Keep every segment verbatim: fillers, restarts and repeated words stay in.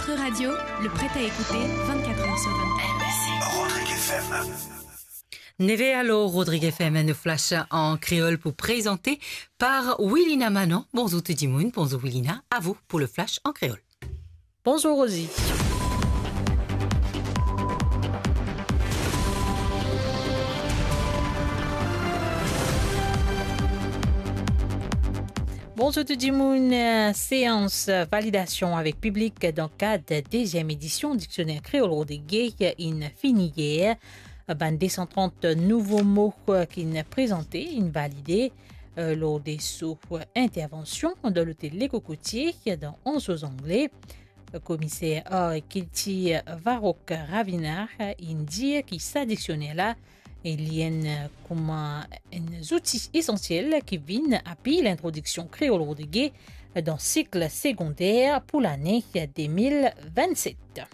Votre radio, le prêt à écouter vingt-quatre heures sur vingt-quatre. Rodrigue F M. Neve alor, Rodrigue F M, nou flash an kreol pou prezante par Wilina Manon. Bonzour tou dimoun, bonzour Wilina, à vous pour le flash en créole. Bonzour Rosie. Bonzour tou dimoun. Séans validasion avek piblik dan kad deziem edision Diksioner Kreol Rodrige inn fini yer. Bann de san trant nouvo mo ki'nn prezante, inn valide, eh, lor de so intervansion dan lotel Le Cocotier dan Anse aux Anglais. Komiser ar ek kiltir Varok Ravina inn dir ki sa diksioner la, e li enn, kouma enn zouti esansiel ki vinn apui lintrodiksion kreol rodrige dan sik segonder pou lane de mil vennset.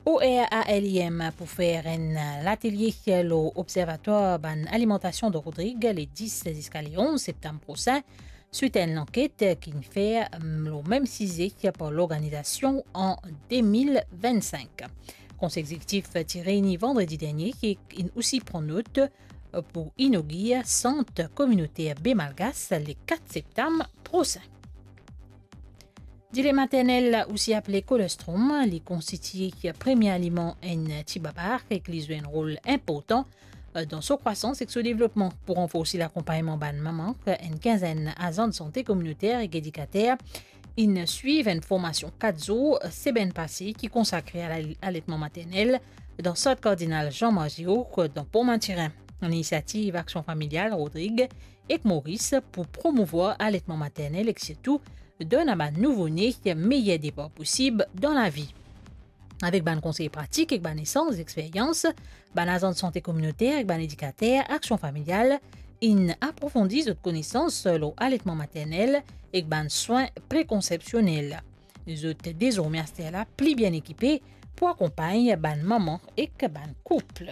O R A L I M pou fer enn latelie lor observatwar bann alimantasion de Rodrig le dis ziska le onz septam prosin, swit enn lanket ki'nn fer, mm, lor mem size par lorganizasion an de mil vennsink. Konsey Egzekitif ti reyni vandredi dernie e inn osi pran not pou inogir sant kominoter Be Malgache le kat septam prosin. Dile maternel, osi apele colostrum, li konstitie premie aliman enn tibaba ek li zwe enn rol inportan dan so krwasans ek so devlopman. Pou ranforsi lakonpagnman bann mama, enn kinzenn azan de sante kominoter ek edikater inn swiv enn formasion kat zour semenn pase ki konsakre a la-, aletman maternel dan sant Kardinal Jean Maziot dan Pont Mathurin. Inisiativ Aksion Familial Rodrig ek Moris pou promouvwar aletman maternel ek sirtou donn a bann nouvo-ne meyer depar posib dan lavi. Avek bann konsey pratik ek bann esanz experyans, bann azan de sante kominoter ek bann edikater Aksion Familial inn aprofondi zot konesans lor aletman maternel ek bann swin prekonsepsionel. Zot dezorme aster la pli bien ekipe pou akonpagn bann mama ek bann koup.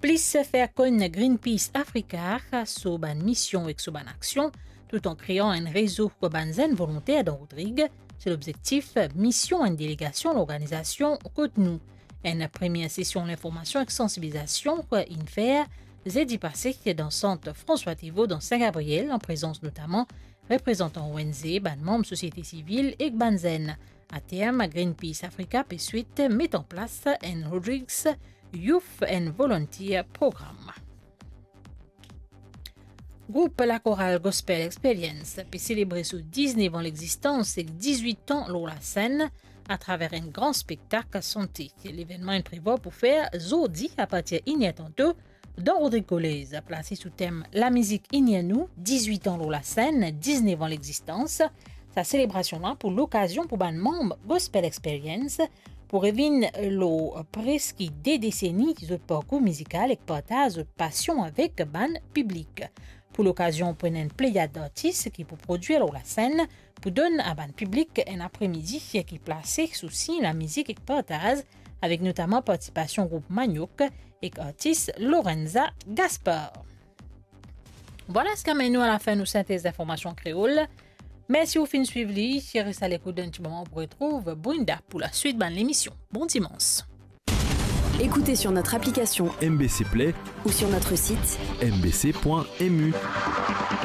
Plis fer konn Greenpeace Africa so bann mision ek so bann aksion, tout an krean enn rezo bann zenn volonter dan Rodrig, se lobzektif mision enn delegasion lorganizasion kot nou. Enn premie sesion linformasion ek sansibilizasion inn fer zedi pase dan sant François Thivault dan Sin Gabriel, an prezans notaman reprezantan O N G, bann manm sosiete sivil ek bann zenn. Aterm, Greenpeace Africa pe swit met an plas enn Rodrigues Youth and Volunteer Program. Group Lakoral Gospel Experience pe selebre so diz-nef an legzistans ek diz-wit an lor lasenn atraver enn gran spektak sante. Levennman inn prevwar pou fer zordi apartir inner tanto dan Rodrig Kolez, plase sou tem Lamizik Ini Nou, diz-wit an lor lasenn, diz-nef an legzistans. Sa selebrasion la pou lokazion pou bann manm Gospel Experience pou revinn lor preski de deseni zot parkour mizikal ek partaz zot pasion avek bann piblik. Pou lokazion, pou ena enn pleyad artis ki pou prodwir lor lasenn, pou donn a bann piblik enn apremidi ki plase sou sign lamizik ek partaz, avek notaman partisipasion group Maniok ek artis Lorenza Gaspar. Vwala seki amenn nou a lafin nou sintez linformasion kreol. Mersi ou finn swiv li, res alekout dan enn ti moman pou retrouv Brenda pou laswit bann lemision. Bon dimans. Écoutez sur notre application M B C Play ou sur notre site M B C point M U.